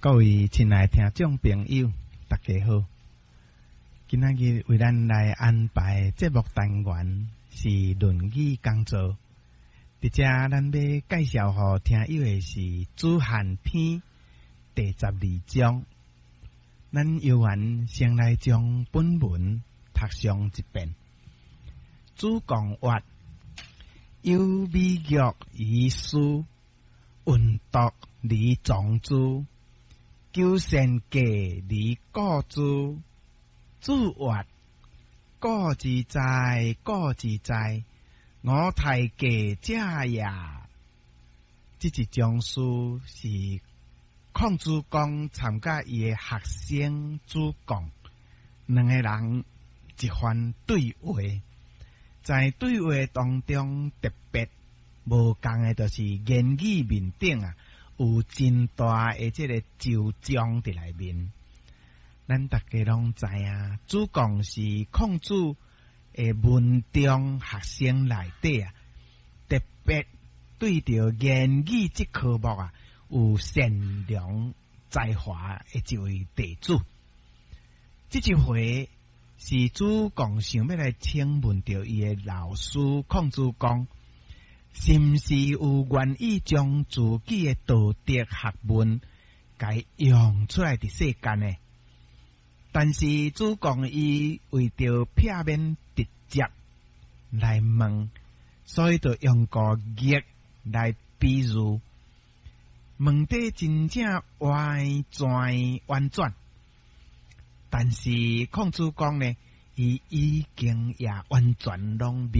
各位親愛聽眾朋友，大家好。今仔日為咱來安排節目單元是《論語講座》。佇遮咱要介紹予聽友的是《子罕篇》第12章。咱猶原先來將本文讀上一遍。子貢曰：有美玉於斯，聞獨而藏之。求善價而沽之。子曰：古之哉，古之哉！吾太價者也。這一章詩是孔子講參佮伊的學生子貢兩个人一番對話，在對話當中特別無仝的，就是言語面頂啊，有真大的這个周章佇內面。咱逐家攏知影，子貢是孔子的門中學生內底啊，特別對著言語這科目啊，有善良才華的一位弟子。這一回是子貢想欲來請問著伊的老師孔子講，是毋是有願意將自己的道德學問共用出來佇世間呢？但是子貢伊為著避免直接來問，所以就用個玉來比喻，問得真正歪轉婉轉。但是孔子講呢，伊已經也完全攏。